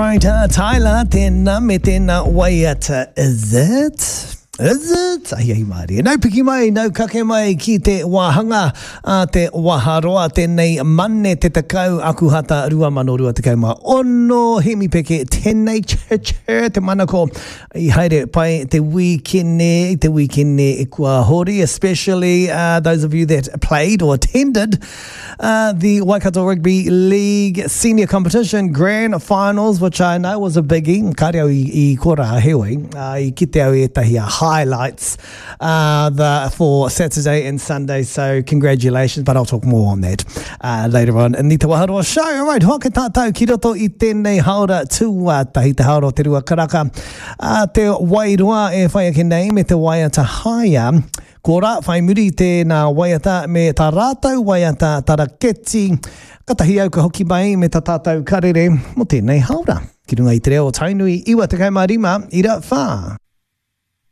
Alright, uh, Tyler, tēnā me tēnā waiata, is it? Is it? Ahi ahi mārie. Nau piki mai, nau kake mai ki te wāhanga a te waharoa tēnei Mane te 10 Akuhata 2026 Hemi Peke tēnei ch-ch te manako i haere pai te wīkene, i te wīkene kua hori, especially uh, those of you that played or attended Uh, the Waikato Rugby League Senior Competition Grand Finals, which I know was a biggie. Kāre au i, i kora, heoi, uh, i kite au ētahi uh, highlights uh, the, for Saturday and Sunday, so congratulations, but I'll talk more on that uh, later on in the Te Waharoa show. All right, hoake tātou ki roto i tēnei haora tuatahi, te haora o te rua karaka, uh, te Wairoa e whai ake nei me te waiata haia. Ko rā whai muri i tēnā waiata me tā rātou waiata taraketi, katahi au ka hoki mai me tā tātou karere mō tēnei haora. Ki runga i te reo o Tainui 95 ira whā.